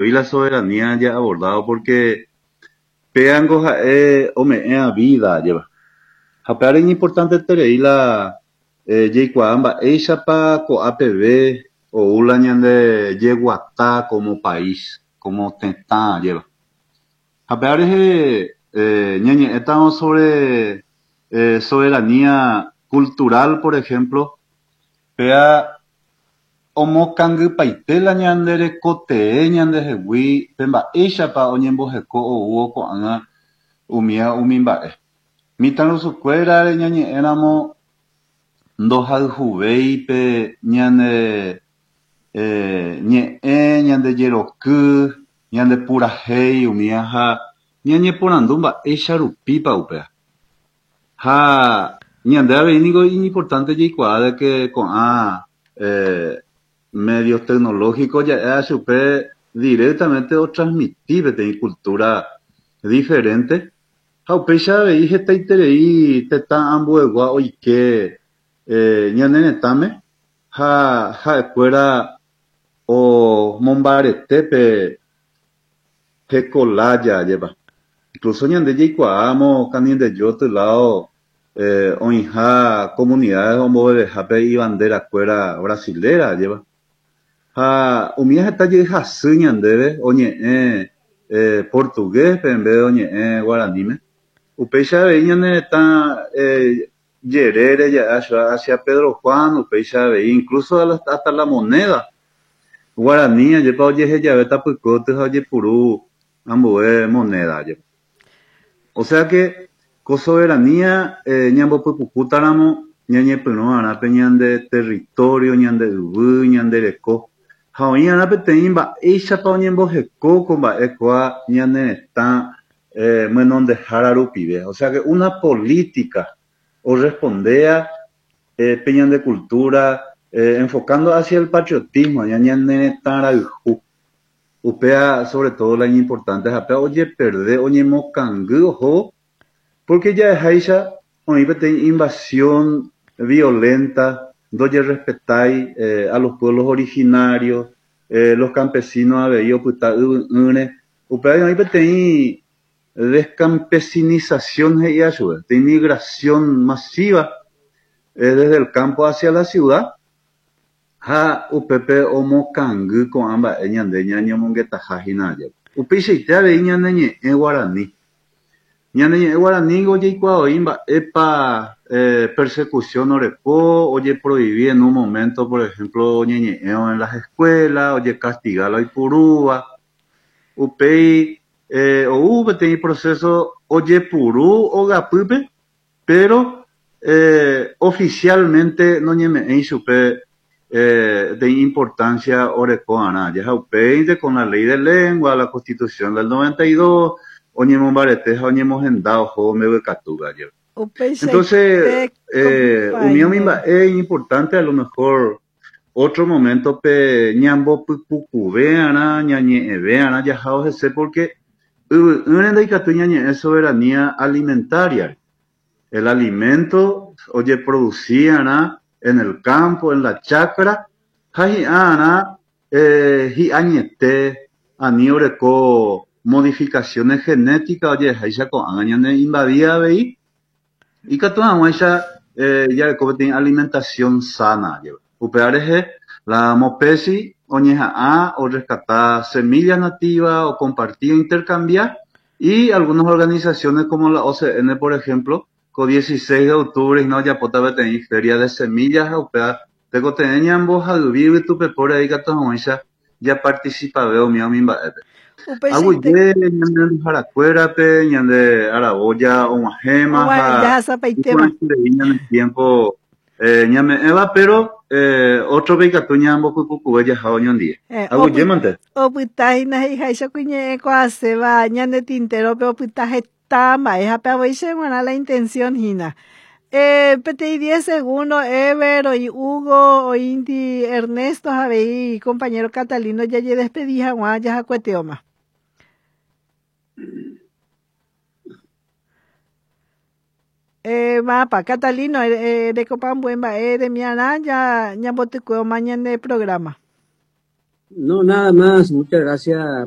La soberanía ya abordado porque péango ha'e ome'ẽa vida ajépa. Ha upévare iñimportanteterei la jaikuaa mba'éichapa ko'ápeve ou la ñande jeguata como país, como tetã ajépa. Ha upéva rehe ñañe'ẽtarõ sobre soberanía cultural, por ejemplo, péa Omokangypaite la ñande rekotee ñandehegui pe mba'éichapa oñemboheko oúvo ko'ág̃a umía umi mba'e. Mitãrusukuérare ñañe'ẽramo ndohayhuvéi pe ñane ñe'ẽ, ñande jeroky, ñande purahéi umía ha ñañeporandu mba'éicha rupípa upéva. Ha ñande avei niko iñimportánte jaikuaa de ke ko'ã medios tecnológicos ja'éva chupe directamente otransmiti peteĩ cultura diferente ha upéicha avei hetaiterei tetã ambuegua oike ñane retãme ha ha'ekuéra omombarete pe Heko lája, ajépa. Incluso ñande jaikuaámo Canindeyó lado oĩha comunidades ombovevehápe ibandera-kuéra brasilera, ajépa. Ha umíva heta jey hasy ñandéve oñe'ẽ portugués-pe en vez de oñe'ẽ guaraníme. Upéicha avei ñane retã jerére ja'e hacia Pedro Juan, upéicha avei incluso hasta la moneda Guarani ajépa ojehejave tapykue ha ojepuru ambue moneda ajépa. O sea que ko soberanía ñambopypukútaramo ñañepyrũ'arã pe ñande territorio, ñande yvy, ñande reko ha oĩ'arã peteĩ mba'éichapa oñemboheko ko mba'e kóa ñane retã myenondehára rupive. O sea que una política orrespondea pe ñande cultura enfocando hacia el patriotismo, ñane retã rayhu. Upéva sobre todo la iñimportante ha péva ojeperde, oñemokangy ohóvo, porque ja'eháicha oĩ peteĩ invasión violenta, ndojerrespetái a los pueblos originarios, los campesinos avei opyta yvy'ỹre, upéva oĩ peteĩ Descampesinización he'íva chupe, de inmigración masiva desde el campo hacia la ciudad ha upépe omokangy ko'ã mba'e ñande ñañomongetaha hína ajépa. Upeichaite avei ñane ñe'ẽ guarani. Ñane ñe'ẽ guaranígo jaikuaavoi mba'épa persecución oreko, ojeprohibi en un momento, por ejemplo, oñeñe'ẽvo en las escuelas, ojecastiga la oipurúva. Upéi ou peteĩ proceso ojepuru ogapýpe, pero oficialmente noñeme'ẽi chupe peteĩ importancia oreko'arã. Ha upéinte con la Ley de Lengua, la Constitución del 92, oñemombarete ha oñemohenda ohóvo mbeguekatúpe ajépa. Entonces, umi umi mba'e iñimportante a lo mejor Ótro moméntope ñambopypukuve'arã, ñañe'ẽve'arã jahávo hese pórke yvy'ỹre ndaikatúi ñañe'ẽ soberanía alimentaria-re. El alimento ojeproduci'arã en el campo, en la chacra, ha hi'a'arã hi'añete ani oreko modificaciones genéticas oje'eháicha ko'ág̃a ñane invadía avei. Ikatu hag̃uáicha jareko peteĩ alimentación sana jeva. Upéva rehe, la Mopesi oñeha'ã orrescata semilla nativa, okomparti, ointercambia, y algunas organizaciones como la OCN, por ejemplo, ko 16 de octubre hína ojapóta peteĩ feria de semillas ha upéva Tekotevẽ ñambohayvi yvytupepóre ikatu hag̃uáicha japartisipave umi umi mba'épe. Aguyje ñane renduharakuérape, ñande aravoja og̃uahẽma ha iporãiterei ñane tiémpo ñame'ẽva, péro ótrope ikatu ñambopypukuve jaha oñondive. Aguyjémante. Opyta hína he'iháicha ku iñe'ẽ kuaaséva ñane tintérope opyta heta. Ta mba'e ha pe avei che g̃uarã la intención hína. Peteĩ diez segundo Ever, oĩ Hugo, oĩndi Ernesto ha avei compañero Catalino jajedespedi hag̃ua jahakueteóma. Mapa, Catalino, erekopa ambue mba'e remiarã ñambotykueóma ñane programa. No, nada más. Muchas gracias.